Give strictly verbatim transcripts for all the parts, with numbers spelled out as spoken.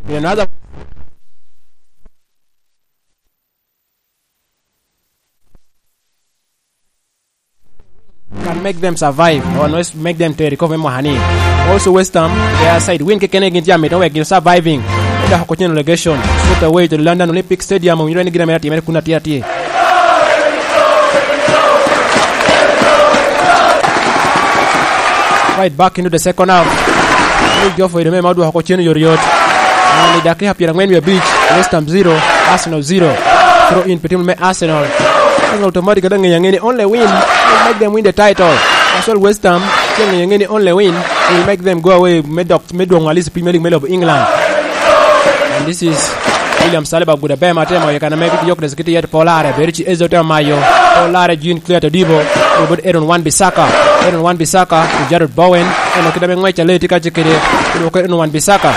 In another can make them survive or not make them to recover me mwaka ni. Also West Ham, their side win kekene gin tye amito wek gin surviving. Dok oko cen relegation. Straight away to the London Olympic Stadium, owinyo ni gin amito atimere kun atye atye. Right back into the second half. Luke Geoffrey Dome ma odwoko oko cen yot yot. And i dakika pyerangwen wie abic, West Ham zero, Arsenal zero. Throw in pi team me Arsenal. Arsenal automatic ada ng'eyo ang'e ni only win will make them win the title. As well West Ham, ce ng'eyo ang'e ni only win will make them go away me dok, me dwoŋ at least Premier League me lobo England. And this is William Saliba gudo aber ma temo yekana me Gyökeres giti yet polare, beri ci Ezo temo mayo. Polare Jean Claire Todibo, obed Aaron Wan Bissaka. Aaron Wan Bissaka, to Jarrod Bowen. Eno kit ame ngwec a lee tye ka cik kede, odwoko Aaron Wan Bissaka.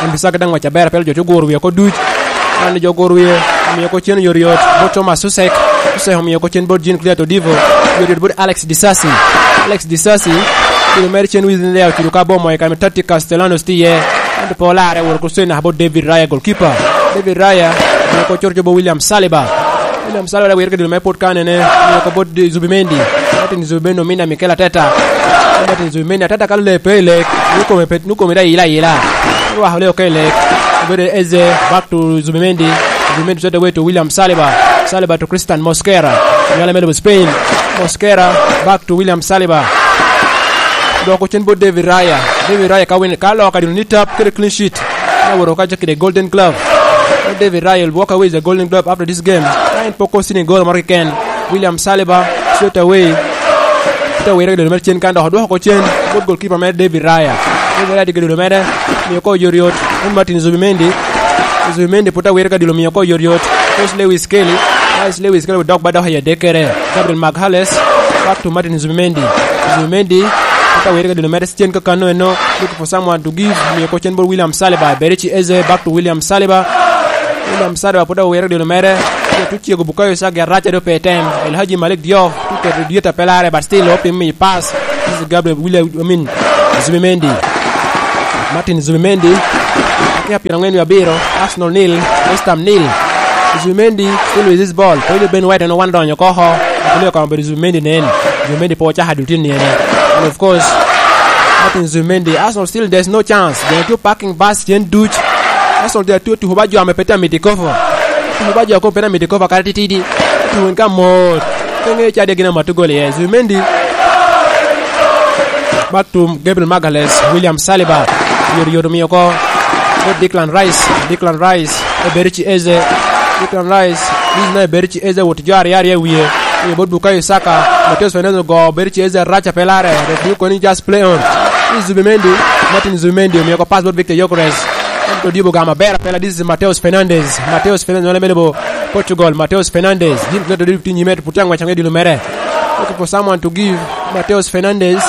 Wan Bissaka daŋ ngwec aber, pelo jo te oguro wie oko duc. Wan jo oguro wie, omio oko cen yot yot, bot Thomas Susek. Susek omio oko cen bot Jean Claire Todibo. Yot yot bot Alex Disasi. Alex Disasi, kilo mere cen wizi ne ocudo ka bot moyo kame Tati Castellanos tye iye. Ento pe olarre wot oko cen naka bot David Raya, goalkeeper. David Raya, omio oko coro bot William Saliba. William Saliba daŋ wire ka dilo mere pwod kanene, omio oko bot Zubimendi. Martin Zubimendi ominne Mikel Arteta. Martin Zubimendi, Arteta ka lee pe i lek, nukome pe, nukome daŋ ila ila. Orwako lee oko i lek. Obedo Eze, back to Zubimendi. Zubimendi straight away to William Saliba. Saliba to Christian Mosquera. Nyala me lobo Spain. Mosquera, back to William Saliba. Dok ocen bot David Raya. David Raya ka win, ka loka dino ni tap kede clean sheet. Na woro ka kede Golden Glove. David Raya will walk away with the Golden Glove after this game. Ka en poko sini gol moro keken. William Saliba, straight away. Te wire ka dino mere cen kan dok odwoko oko cen. Bot goalkeeper mere David Raya. David Raya tye ka dino mere. Mio ko yot yot. Martin Zubimendi. Zubimendi pwod awire ka dilo mio ko yot yot. Coach Lewis Kelly. Coach Lewis Kelly dok ba dok i adek kere. Gabriel Magalhaes. Back to Martin Zubimendi. Zubimendi. Pwod awire ka dilo mere cen kakano eno. Looking for someone to give. Mio ko cen bot William Saliba. Berichi Eze. Back to William Saliba. William Saliba pwod awire ka dilo mere. Tucego Bukayo Saka arac a do pe tem. El Haji Malik Diop. Tuketo dyeta pelare, but still, opim mi pass. This is Gabriel William, I mean, Zubimendi. Martin Zubimendi. Dakika pyerangwen wie abiro, Arsenal nil, West Ham nil. Zubimendi still with this ball. Pwod Ben White en owan donyo oko. Pwod okamo bedo Zubimendi nen. Zubimendi po ocako adul tin ni ene. And of course, Martin Zubimendi. Arsenal still, there's no chance. They are two parking bus, jen duc. Arsenal they are two tuko ba jo ame pe tye amiti kofo. Tuko ba jo a kome pe tye amiti kofo kare titidi. Tuko en ka mot. Pe ŋe ca de gin amatu gol iye. Zubimendi. Back to Gabriel Magalhaes, William Saliba. Yot yot omio oko. Bot Declan Rice. Declan Rice. Eberechi Eze. Declan Rice. This is now Eberechi Eze wot jo aryo aryo i wie. Omio bot Bukayo Saka. Mateus Fernandes ogo Eberechi Eze arac a pe larre. Referee koni just play on. This is Zubimendi. Martin Zubimendi. Omio oko pass bot Victor Gyökeres. Ento Dibo gamo aber apela. This is Mateus Fernandes. Mateus Fernandes. Wala mene bo Portugal. Mateus Fernandes. Jim Cleto Dibo tye nyime. Puti angwec angwe dilo mere. Looking for someone to give Mateus Fernandes.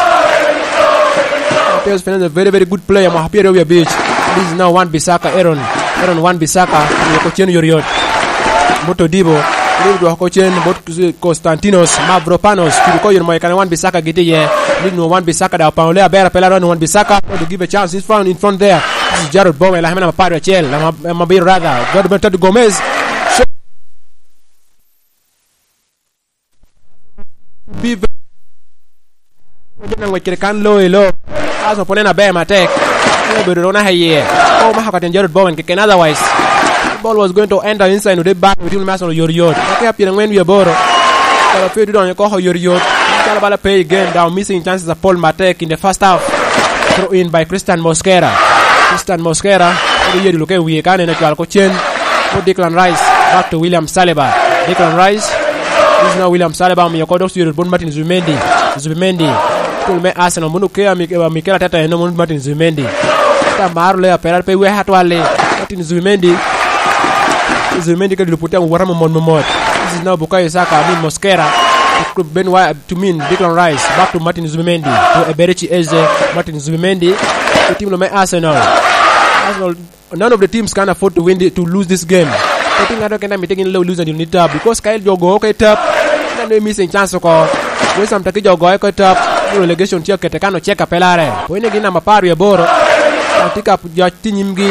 Mateus Fernandes, very, very good player. Mwaka pyeraryo wie abic. This is now Wan Bissaka, Aaron. Aaron Wan Bissaka. Omio oko cen yot yot. Bot Todibo. Todibo dwoko oko cen. Bot Konstantinos Mavropanos. Cudo ko yot moyo kane Wan Bissaka gitye iye. Ni nwo Wan Bissaka da opano le aber apela ron Wan Bissaka. Trying to give a chance. He's found in front there. This is Jarrod Bowen. Lahema namba apar acel. Lama, lama biro rather. Jarrod Bowen to Gomez. Be ve-, jo na ngwec kede kan lo i lo. Aso pwod en aber matek. En obedo dok naka iye. Ko omako ka tyen Jarrod Bowen keken, otherwise, the ball was going to enter inside, ode bal, otim me Arsenal yot yot. Dakika pyerangwen wie aboro. Kala pe odonyo koko yot yot. Calo bala pe i game, daŋ missing chances apol matek in the first half. Throw in by Christian Mosquera. Christian Mosquera, odo yedi luke wie ka nene cwal ko cen. Ko Declan Rice, back to William Saliba. Declan Rice, this is now William Saliba, omiyo ko dok ciro bot Martin Zubimendi. Zubimendi, tul me Arsenal, munu ke ami, ami kela tata eno, munu Martin Zubimendi. Ata maro le apera pe weka atwali. Martin Zubimendi. Zubimendi ka dilo puti wota momot momot. This is now Bukayo Saka, I mean Mosquera. Ben White to mean Declan Rice. Back to Martin Zubimendi. To Eberechi Eze. Martin Zubimendi. The team lo me Arsenal. Arsenal, none of the teams can afford to win the, to lose this game. Pe tye ŋato kene a mitte gin lo lose until ni tap, because ka jo ogo oko i tap, en neno missing chance oko. West Ham tye ki jo ogo oko i tap, relegation tye okete kan ocek apelare. Point egi namba apar wie aboro. Kan tye ka jo tye nyimgi.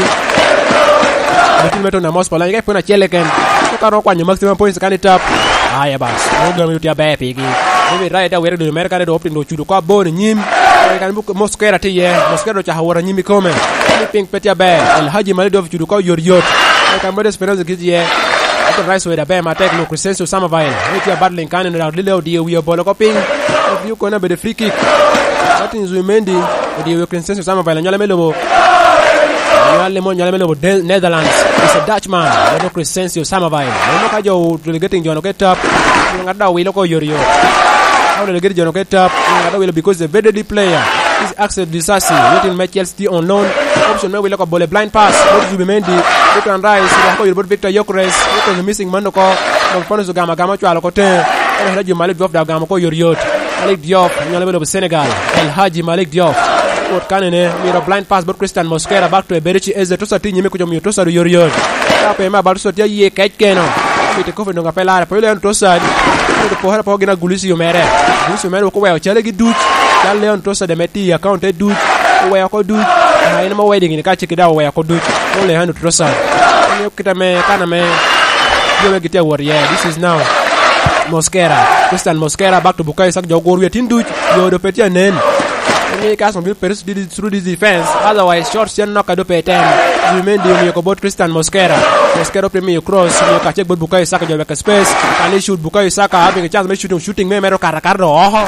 Mitin me Tottenham Hotspur, lany ka ipwon acel keken. Ka romo kwanyo maximum points kan i tap. Aya bas. Mo gami tye aber pigi. David Raya te awire dul mere kare do opting do cudo ko abor i nyim. Kan bu Mosquera tye iye. Mosquera ocako wot anyim i kome. Ni piny pe tye aber. El Haji Malik Diouf cudo ko yot yot. Kan Moses Fernandes gitye iye. Ito Rice Wade aber matek no Crescencio Samavel. Ni tye battling kan en dok lile odiyo wiye obolo ko piny. Odiyo kone abedo free kick. Martin Zubimendi odiyo wiye Crescencio Samavel. Nyole me lobo. Nyole mo, nyole me lobo De-, Netherlands. Is a Dutchman. Eno Crescencio Samavel. Eno ka jo delegating jono ke tap. Ngat da wilo ko yori yo. Ka delegating jono ke tap. Ngat da wilo because a very deadly player. Is Axel Disasi. Waiting me Chelsea on loan. Option me wilo ko bole blind pass. Bot Zubimendi. Bot Rice. Ko yori bot Victor Yokres. Bot missing man ko. Bot Ponus Gama Gama cwalo ko te. Eno hera jo Malik Diouf da Gama ko yori yot. Malik Diouf. Nyole me lobo Senegal. El Haji Malik Diouf. Wot kanene, mito blind pass bot Christian Mosquera, back to Eberechi Eze, Trossard tye nyime kuca omio Trossard oyotoyot. Ka pe me abal Trossard tye aye kec keno. Mito kofi doŋ ape lare, poyo Leon Trossard. Mito pokere apoko gin a Gulisi omere. Gulisi omere wok oweo cale gi duc. Cal Leon Trossard ame tye i account te duc. Oweo oko duc. Ah, en ame wedding ni ka cik da oweo oko duc. Mo Leon Trossard. Omiyo kita me, kana me, jo me gitye awot iye. This is now Mosquera. Christian Mosquera, back to Bukayo Saka, jo ogur wiye tin duc. Yo do pe tye anen. Emi ka Arsenal bino pere through this defense. Otherwise, short cen nok a do pe tem. Zubimendi omiyo ko bot Christian Mosquera. Mosquera opye miyo cross, omiyo kacek bot Bukayo Saka, jo weke space. Kan i shoot Bukayo Saka, having a chance me shooting, shooting me mero kara kara do oho.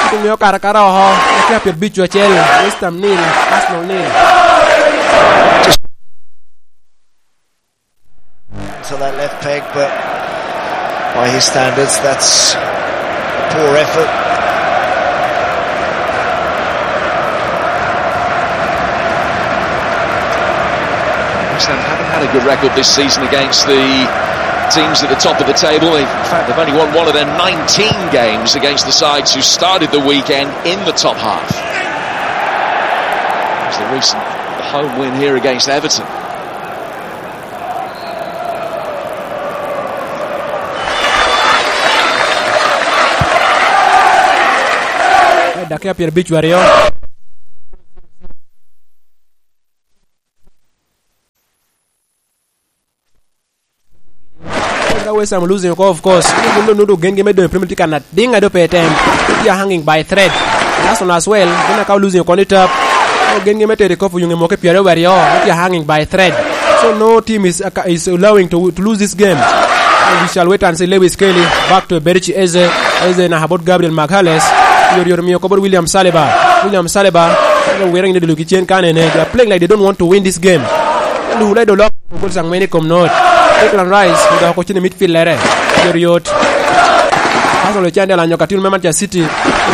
Shooting me kara kara oho. Okia pyer bic acel. West Ham nil, Arsenal nil. To that left peg, but by his standards, that's a poor effort. West Ham haven't had a good record this season against the teams at the top of the table. In fact, they've only won one of their nineteen games against the sides who started the weekend in the top half. It's the recent home win here against Everton. Dakika pyerabic aryo. Ka West Ham losing oko, of course, gin doŋ nudo gengi me doŋ i Premier League kan adiŋ a doŋ pe tem. Tye hanging by thread. Arsenal as well, gin a ka losing oko ni tap. Gengi me tero i kop oyuŋe moke pyeraryo aryo, tye hanging by thread. So no team is, is allowing to, to lose this game. And we shall wait and see Lewis Kelly back to Eberechi Eze. Eze na about Gabriel Magalhaes. Yor yor miyo kobor William Saliba. William Saliba. Wira ngine dulu kicien kanene. They are playing like they don't want to win this game. Lule do lok. Gol sang mene kom not. Declan Rice. Uda ko chini midfield lere. Yor yot. Arsenal can de lanyo katil me Manchester City.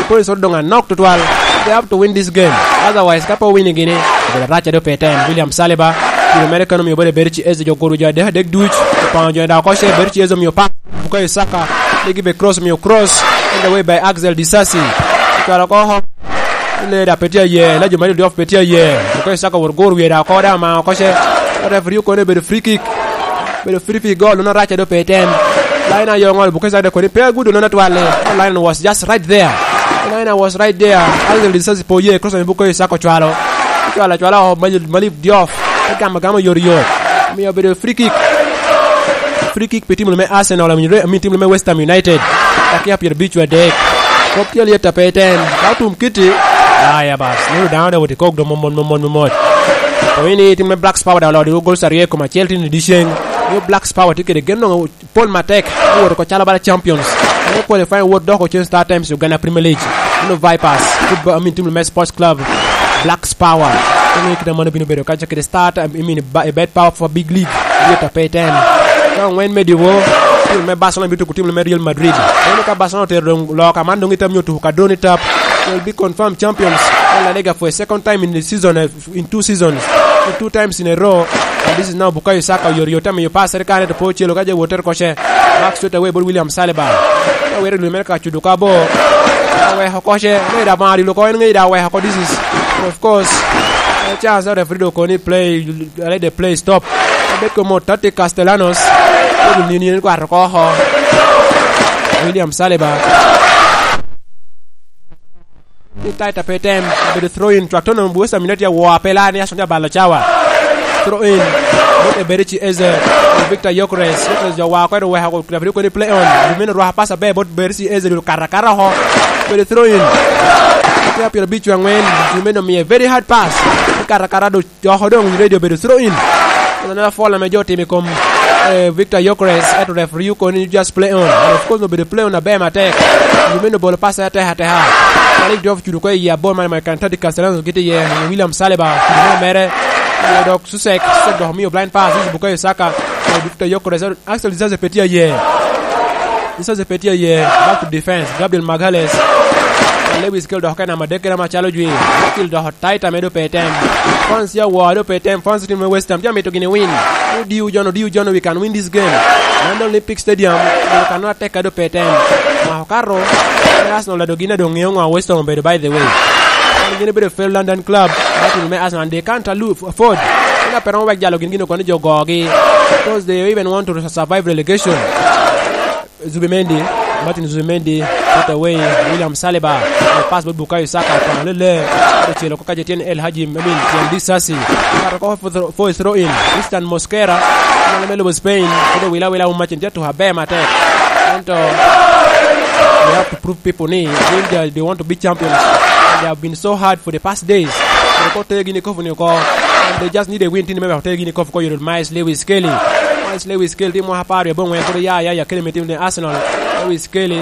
Polis doŋ anok tutwal. They have to win this game. Otherwise, ka pe owinyo gini, obedo rac a dope tem. William Saliba, kilo mere kano miyo bode Eberechi Eze jo goro jo adek adek duc. Opango jo da oko ce Eberechi Eze omiyo pa. Bukayo Saka, legi be cross omiyo cross. In the way by Axel Disasi. Cwalo oko oho. Leda pe tye aye, la jo ma diof pe tye aye. Bukayo Saka wor goro wiye da oko da ma oko ce. Referee okone bedo free kick. Bedo free kick goal, nono rac a dope tem. Line ayo ŋol, Bukayo Saka de kodi pe agudo nono atwal. Line was just right there. Line was right there. Angel Disasi po ye, cross me Bukayo Saka ocwalo. Ocwalo, ocwalo, oh, Mali-, Malik Diouf. Te gamo agama yot yot. Omiyo obedo free kick. Free kick pi tim me Arsenal, I mean, I mean, tim me West Ham United. Dakika pyerabic adek. Kop tye alyet a pe tem. Ka otum kiti. Aya bas. Nino dano da woti kok do momon, momon, momon. Oyini tim me Blacks Power da olodi gol sarye kom acel tin i diceng. Yo Blacks Power tye kede gen noŋo pol matek, owoto oko calo bala champions. Ame qualifying wot dok ocen Star Times Uganda Premier League. Ino Vipers, football, I mean, team me Sports Club, Blacks Power. Ino kit amano bino bedo kaca kede Star Times, I mean, ba-, Bet Power for Big League. Yet a pe ten. Ka ongwen me diwo, team me Barcelona bito ku team me Real Madrid. Ino ka Barcelona otero dong loka man dong itam nyo tuku ka drone tap. Will be confirmed champions. La Liga for a second time in the season, eh, in two seasons, two times in a row. And this is now Bukayo Saka, yor yor tamiyo pass, ere kane to po celo ka je woter koche. Back straight away bot William Saliba. Ka were lwe mere ka cudo ka bo. Ka weko koche, me da mari lo ko en ngi da weko ko, this is, of course, a chance that referee do koni play, let the play stop. Abet ko mo Tati Castellanos. Ko ni ni kwato ko ho. William Saliba. Ni taita pe tem, obedo throw in, cwak tono West Ham United ya wo apela ni Arsenal ya balo cawa. Throw in. Bot Eberechi Eze. Victor Yokres. Yokres jo wa kwero weko referee kodi play on. Jumeno rwako pass aber bot Eberechi Eze, dul kata kata oko. Bedo throw in. Tye pyero abic angwen. Jumeno miye very hard pass. Kata kata do oko doŋ radio bedo throw in. Another foul ame jo otimo i kom, eh, Victor Yokres, ento referee okoni ni just play on. And of course, obedo play on aber matek. Jumeno bolo pass atek ateka. Malik Diouf cudo ko i abor mane, mane Kantadi Castellanos gitye iye. William Saliba, cudo mere. Dok Susek, Susek dok omio blind pass, Bukayo Saka. Victor Yokres, Axel Disasi pe tye aye. Disasi pe tye aye. Back to defense. Gabriel Magalhaes. Lewis Skelly dok ka namba adek kede macalo jwi. Skelly dok taita me do pe tem. Fans ya wa do pe tem. Fans team me West Ham. Ja mito gini win. Odiu John, odiu John, we can win this game. London Olympic Stadium. We can not take a do pe tem. Ma okato. Arsenal do gin adong ŋeo ŋo West Ham obedo, by the way. Gin obedo fair London club. Batin me Arsenal, they can't afford. Ina pero wek jalo gin gin okoni jo gogi. Because they even want to survive relegation. Zubimendi, Martin Zubimendi, put away, William Saliba, pass bot Bukayo Saka, kono lele, ocelo ko kaje tyen El Haji, I mean, tyen Disasi. Kato ko for, for throw in, Tristan Mosquera, mano me lobo Spain, kodo wila wila umacin, tye tuha be matek. Ento, we have to prove people ni, when they, they want to be champions, and they have been so hard for the past days. Ko te gini kofu ni ko, and they just need a win, tini me te gini kofu ko yoro Miles Lewis Skelly. Miles Lewis Skelly timo apar ya bongwen, kodo ya, ya, ya, kede me tim ne Arsenal. Lewis Skelly.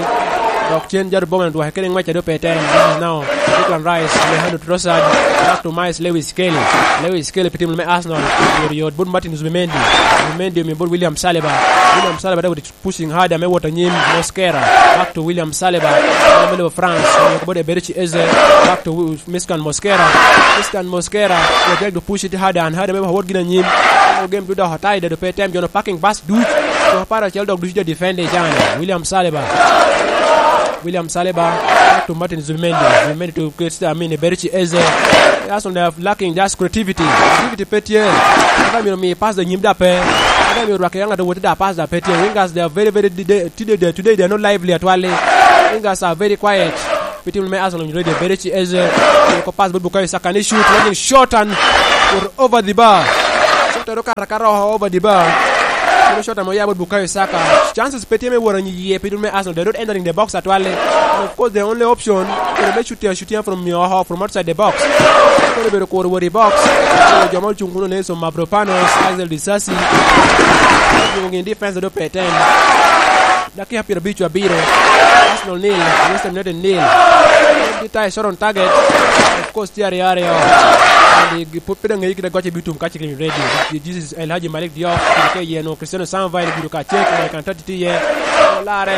Dok cen jaro boma dwake kede ngwec a dope tem. This is now Declan Rice, Alejandro Trossard, back to Miles Lewis Skelly. Lewis Skelly pi tim me Arsenal. Yot, yot, bot Martin Zubimendi. Zubimendi omiyo bot William Saliba. William Saliba daw pushing hard, ame wot anyim, Mosquera. Back to William Saliba. Ame lebo France. Omiyo bot Eberechi Eze. Back to Miskan Mosquera. Miskan Mosquera. They try to push it harder and harder. Me wot gin anyim. Game duda hotai, dope tem, jono parking bus duc. Dok apar acel dok ducu ja defend i can. William Saliba. William Saliba. Back to Martin Zubimendi. Zubimendi to Christian, I mean, Eberechi Eze. Arsenal, they are lacking just creativity. Creativity pe tye. Ata myero mi pass da nyim da pe. Ata myero rwak ya ŋat woti da pass da pe tye. Wingers, they are very, very de-, de-, today, they, today they are not lively atwali. Wingers are very quiet. Pi tim me Arsenal, ready, Eberechi Eze. Ko pass bot Bukayo Saka ni shoot, looking short and over the bar. Shot ero kara kara over the bar. Kendo shot ame oya bot Bukayo Saka. Chances pe tye me wot anyi iye pi tim me Arsenal. They're not entering the box atwali. And of course, the only option, kede me shoot ya, shoot ya from, uh, from outside the box. Koro bedo kuro wot i box. Koro jo ma ocung kuno, Nelson Mavropanos, Axel Disasi. Yung in defense do pe tem. Dakika pyerabic abiro. Arsenal nil, West Ham United nil. Twenty tie shot on target. Of course, tye aryo aryo. And pwod pe dong ŋeyo kit agoc ebitum ka cikin ready. This is El Haji Malik Diop. Ke yen o Cristiano Samvai gudo ka cek, American thirty tye iye. Olare.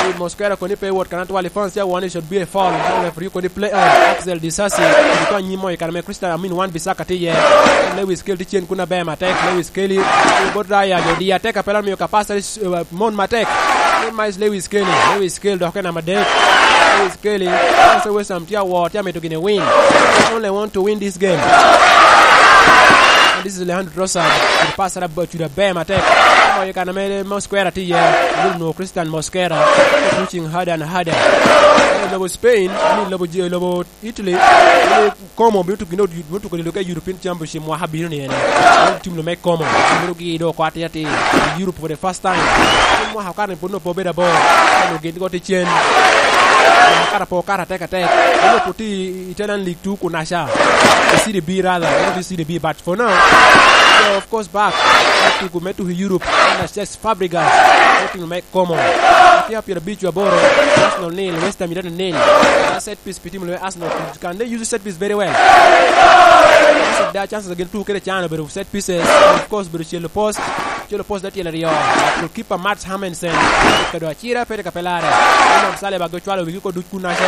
I Mosquera koni pe wot kan atwal i France ya one, it should be a foul. Referee koni play on. Axel Disasi. Gudo ka nyim mo i kare me Christian, I mean, Wan Bissaka tye iye. Lewis Skelly tye cen kun aber matek. Lewis Skelly. Bot Raya, jo di atek apela miyo ka passer. Uh, mon matek. Mon Miles Lewis Skelly. Lewis Skelly dok en namba adek. Lewis Skelly. Ose West Ham tye awor, tye amito gini win. They only want to win this game. And this is Alejandro Trossard. With pass ara ba-, cuda ber matek. Omoyo kan ame Mosquera tye iye. Will know Christian Mosquera. Pushing harder and harder. Lobo Spain, I mean, lobo J-, lobo Italy, Como bino tuko, bino tuko dilo ka European Championship mwaka bino ni ene. Tim lo me Como bino gi do kwat ya ti Europe for the first time. Mwaka okar ni pud no po bedo abo. Ano gin go ti cen. Kara po kara tek atek. Bino puti Italian League two kunasha. Serie B rather, not Serie B, but for now, so of course back. Tuko me tuko Europe. Ana Cesc Fabregas. Tim lo me Como. Tye pyerabic aboro, Arsenal nil, West Ham United nil. Set piece pi tim lo me Arsenal. Can they use set piece very well? Arsenal, their chances again two kede can obedo set pieces. Of course, obedo celo post. Celo post da tyen aryo. Goalkeeper Mats Hummels. Kado acira pete ka pelare. Imam Sale ba gocwalo wigi ko duc kunaca.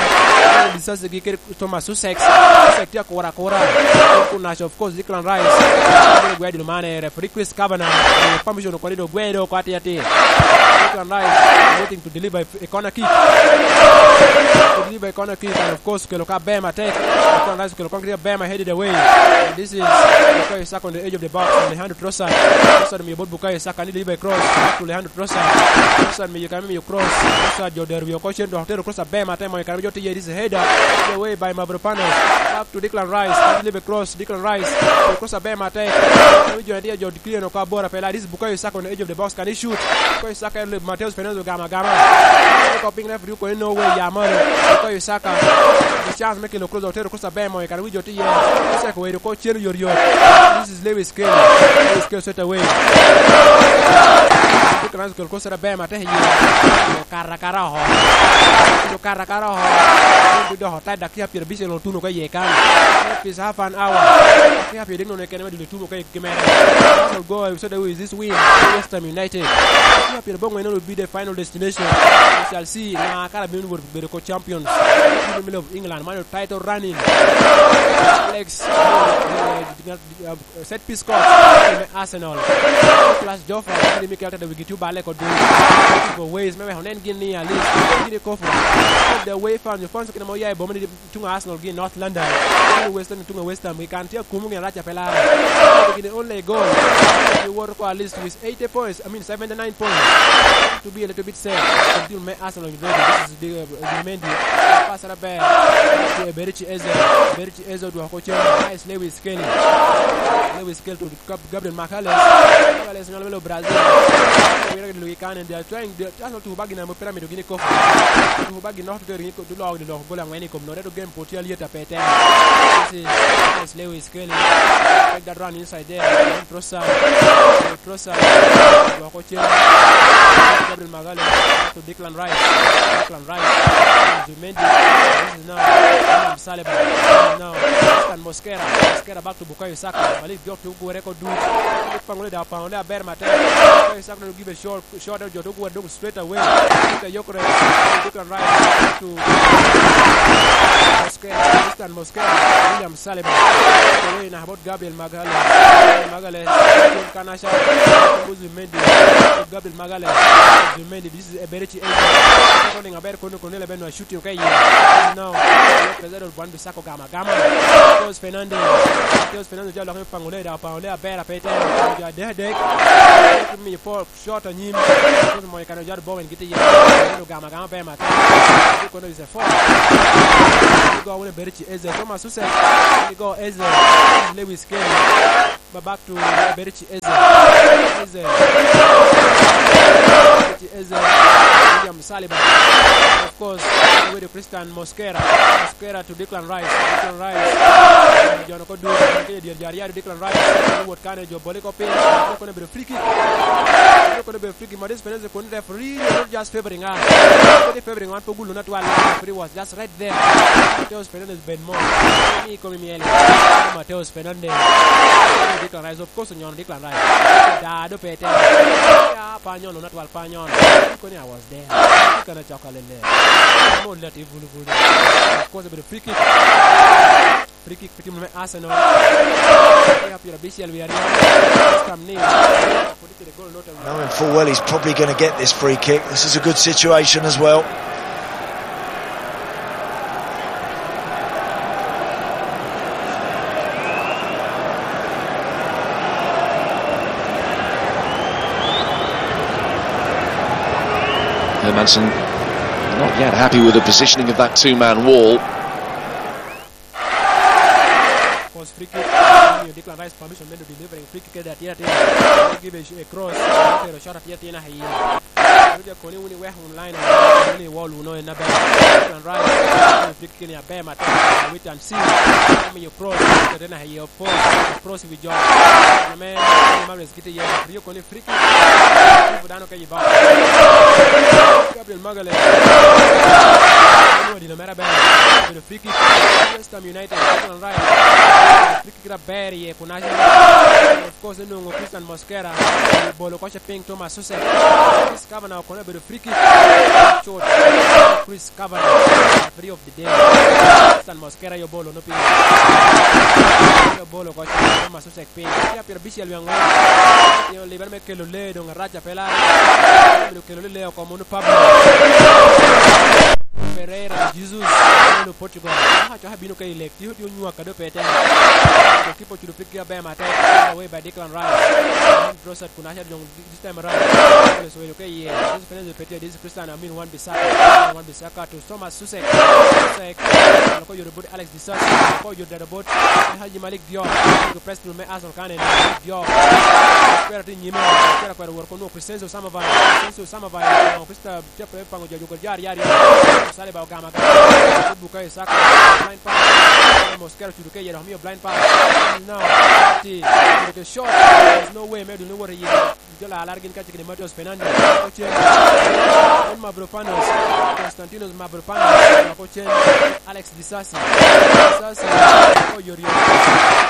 Disasi gi kede Thomas Sussex. Sussex tye akura akura. Kunaca, of course, Declan Rice. Gwe dilo mane, referee Chris Kavanagh. Permission okoni do gwe do kwati ati. Declan Rice waiting to deliver a corner kick. To deliver a corner kick, and of course, kelo ka Bema tek. Declan Rice kelo ka Bema headed away. And this is Bukayo Saka on the edge of the box. Alejandro Trossard. Trossard miyo bot Bukayo Saka ni deliver cross back to Leandro Trossard. Trossard miyo kare me miyo cross. Trossard jo dero wiye oko cen dok otero cross aber matek moyo kare me jo tiye, this is a header. The way by Mavropanos. Back to Declan Rice. Deliver cross, Declan Rice. Cross aber matek. Kare me jo tiye, jo clear oko abora pela. This is Bukayo Saka on the edge of the box. Can he shoot? Bukayo Saka, Mateus Fernandes ogamo agama. Kop piny referee okone no way, ya malo. Bukayo Saka. The chance me kelo cross, otero cross aber moyo kare me jo tiye. Saka owedo oko cen oyotyot. This is Lewis Kelly. Lewis Kelly straight away. Declan Rice okel cross aber matek iye. Okato akata oko. Okato akata oko. Dok otai dakika pyerabicel otuno ka iye kan. That is half an hour. Dakika pyerabicel nono kene me dul otuno ka iye mere. Arsenal go straight away with this win. West Ham United. Dakika pyerabongwen will be the final destination. We shall see. Na kara bino bedo ko champions. In the middle of England, man title running. Alex, uh, set piece coach me Arsenal. Plus Joffrey, kidi Mikel Arteta wigi tye obale kodi. Go ways, me weko nen gin ni at least gin i kofu. The way fans, fans kina mo ya i boma ni tuŋ Arsenal gi North London. Tuŋ West Ham, tuŋ West Ham, we can tye akumo gin arac a pe lare. Gin only goal. You work at least with eighty points, I mean seventy-nine points. To be a little bit safe. Until me Arsenal ready. This is the, uh, the Mendy. Pass it up there. To Eberechi Eze. Eberechi Eze odwoko cen. Nice Lewis Kelly. Lewis Kelly to Gab-, Gabriel Magalhaes. Magalhaes nyalo bedo Brazil. Wira gi lugi kan, and they are trying, they are, Arsenal tuko bagi na mo pyramid gini koko. Tuko bagi nok to ringi ko, to lok, lok gol angwen i kom no. Redo game poti alieta pe tem. This is, this is Lewis Kelly. Take that run inside there. Trossard. Trossard. Dwoko cen. Gabriel Magalhaes. To Declan Rice. Declan Rice. Zubimendi. This is now William Saliba. This is now Tristan Mosquera. Mosquera back to Bukayo Saka. Malik Diop to gure ko dut. Pangole da pangole aber matek. Bukayo Saka no give a shot. Shot out, jo dok wadok straight away. Peter Gyökeres, Declan Rice, to Mosquera, Tristan Mosquera, William Saliba. Away na about Gabriel Magalhaes. Gabriel Magalhaes, Tim Kanasha, Zubimendi, Gabriel Magalhaes, Zubimendi, this is Eberechi Eze. Running aber kono kono le beno shooting okay. Now, Pedro Buan Bissaka gama gama. Mateus Fernandes, Mateus Fernandes jalo kami pangole da pangole aber apete. Ja dek dek. Mi po Shot anyim. Kono moyo kano jaro bowen giti ye. Kono gama gama be mata. Kono is a foul. Go wune Eberechi Eze. Thomas Susek. Go Eze. Lewis Kelly. Ba back to Eberechi Eze. Eze. Eberechi Eze. William Saliba. Of course, with Tristan Mosquera. Mosquera to Declan Rice. Declan Rice. Jono ko du. Kene dier jari yari Declan Rice. Wot kane jo boli ko piny. Kono bedo free kick. Kono bedo free kick. Mateus Fernandes kun referee not just favoring us. Not favoring one for gulu not one. Referee was just right there. Mateus Fernandes ben mo. Mi komi miel. Mateus Fernandes. Declan Rice, of course, nyono Declan Rice. Da do pete. Ya pa nyono not one pa nyono. Koni I was there. Kana choka lele. Mo lati bulu bulu. Of course, bedo free kick. Free kick for team me Arsenal. Kaya pira bishel we are. Come ni. Knowing full well he's probably gonna get this free kick. This is a good situation as well. Hermansen not yet happy with the positioning of that two-man wall. Cross free kick. Omiyo Declan Rice permission me delivering free kick kede atir atir. Give a, a cross. Pero shot atir atir na hiye. Ruja koni wuni weh online. Wuni wall wuno en aber. Declan Rice. Free kick ni aber matek. Wait and see. Omiyo cross. Kede na hiye, of course. Cross wi jo. Ame Mares gite ye. Rio koni free kick. Dano ka iba. Gabriel Magalhaes. Dino mere aber. Bedo free kick. West Ham United. Declan Rice. Free kick aber iye kun aca. Of course, enwoŋo Tristan Mosquera obolo koce piny Thomas Susek. Chris Kavanagh kono obedo free kick. Chot. Chris Kavanagh, referee of the day. Tristan Mosquera yo bolo no piny. Yo bolo koce Thomas Susek piny. Tye pira bicel wi aŋwen. Tye libere me kelo lee doŋ arac a pe lar. Obedo kelo lee oko mono Pablo Pereira, Jesus, Portugal. Coka coka bino ka i lek. Tio tio nywak kado pe temo. Goalkeeper ocudo piggi aber matek. Away by Declan Rice. Trossard kun aca dong this time around. Alex Oweyo ka iye. Enzo Fernandez pe tye. This is Christian Amin Wan Bissaka. Wan Bissaka to Thomas Susek. Susek. Alo ko yore bot Alex Disasi. Alo ko yore dada bot Haji Malik Diop. Ko press through me Arsenal kane. Malik Diop. Kwera tye nyime. Kwera kwera wor kono Crescencio Samavai. Crescencio Samavai. Crystal Tye pe paŋo jo juko jar, jar, jar. Saliba ogamo agama. Bukayo Saka. Blind pass. Mosquera ocudo ka iye dok omio blind pass. No. Ti. Ocudo ke shot. There's no way me dun wot iye. Jo la alar gin kacel kede Mateus Fernandes. Ocen. En Mavropanos. Konstantinos Mavropanos. Ocen. Alex Disasi. Disasi. Oyorio.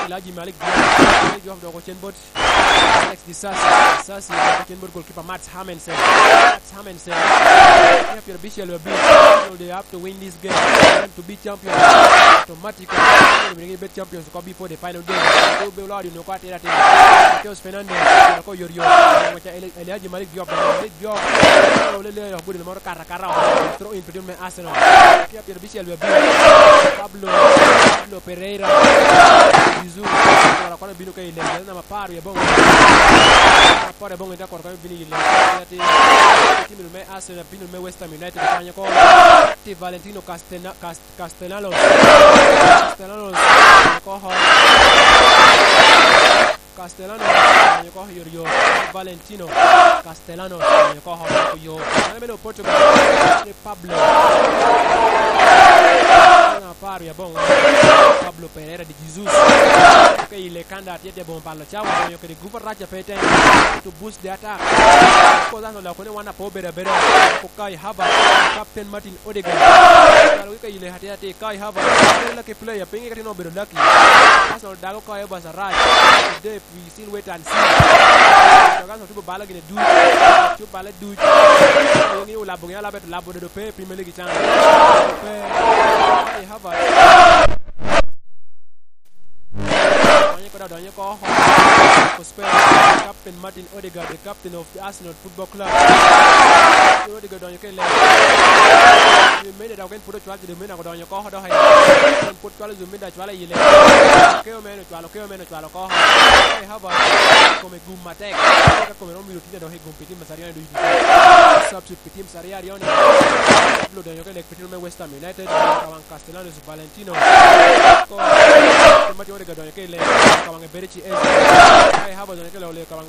Elijah Malik Diop. Malik Diop dok ocen bot Alex Disasi. Disasi, ocen bot goalkeeper Mats Hermansen. Mats Hermansen. Kenya pyer abicel abich. They have to win this game. And to be champion. Automatically. They will be champions. Ko before the final game. They will be Lord, you know, ko atira atira. Mateus Fernandes. Ko yot yot. Wacha Eli-, Elijah Malik Diop. Malik Diop. Ole le, gudu moro kara kara. Throw in between me Arsenal. Kenya pyer abicel abich. Pablo. Pablo Pereira. Jesus. Kora kono bino ka i lek. Jal namba apar wie aboŋo. Apar aboŋo ite kor kano bino i lek. Ati, ati, team me Arsenal, team me West Ham United, kanyo ko. Ti Valentino Castena-, Cas-, Castellanos. Castellanos, kanyo ko ho. Castellanos, kanyo ko ho, yor, yor. Valentino Castellanos, kanyo ko ho, yo. Mano mene Portugal. Ni Pablo. Namba apar wie aboŋo. Pablo Pereira. Jesus. Ka i Lekanda tye tye boŋo balo cawa, okonyo kede gup arac a pe teno to boost the attack. Of course, Arsenal okone wan apo bedo abeda. Ko Kai Havertz, Captain Martin Odegaard. Kalo ka i le hati hati Kai Havertz, very lucky player, pinge ka tino obedo lucky. Arsenal dago Kai Havertz arac. Today, we still wait and see. Arsenal tubo balo gine duc. Tubo balo duc. Ngi olabo gine alaba to labo dodo pe Premier League can. Pe Kai Havertz. Donyo ko, donyo ko. Ko Spurs, Captain Martin Odegaard, the captain of the Arsenal Football Club. Odegaard donyo ke le. Mene dok en pud ocwal, mene donyo ko, donyo. En pud cwalo, mene cwalo i le. Keo mene cwalo, keo mene cwalo ko. Kai Havertz, kome gum matek. Ka kome romo mito tinya dok i gum pi tim Macedonia ducu. Substitute pi tim Saria Arioni. Pablo donyo ke lek pi tim me West Ham United. Kawan Castellanos Valentino. Ko, Tim Martin Odegaard donyo ke i lek, ka waŋe bedo ci Eze. Kai Havertz donyo ke i lek, ka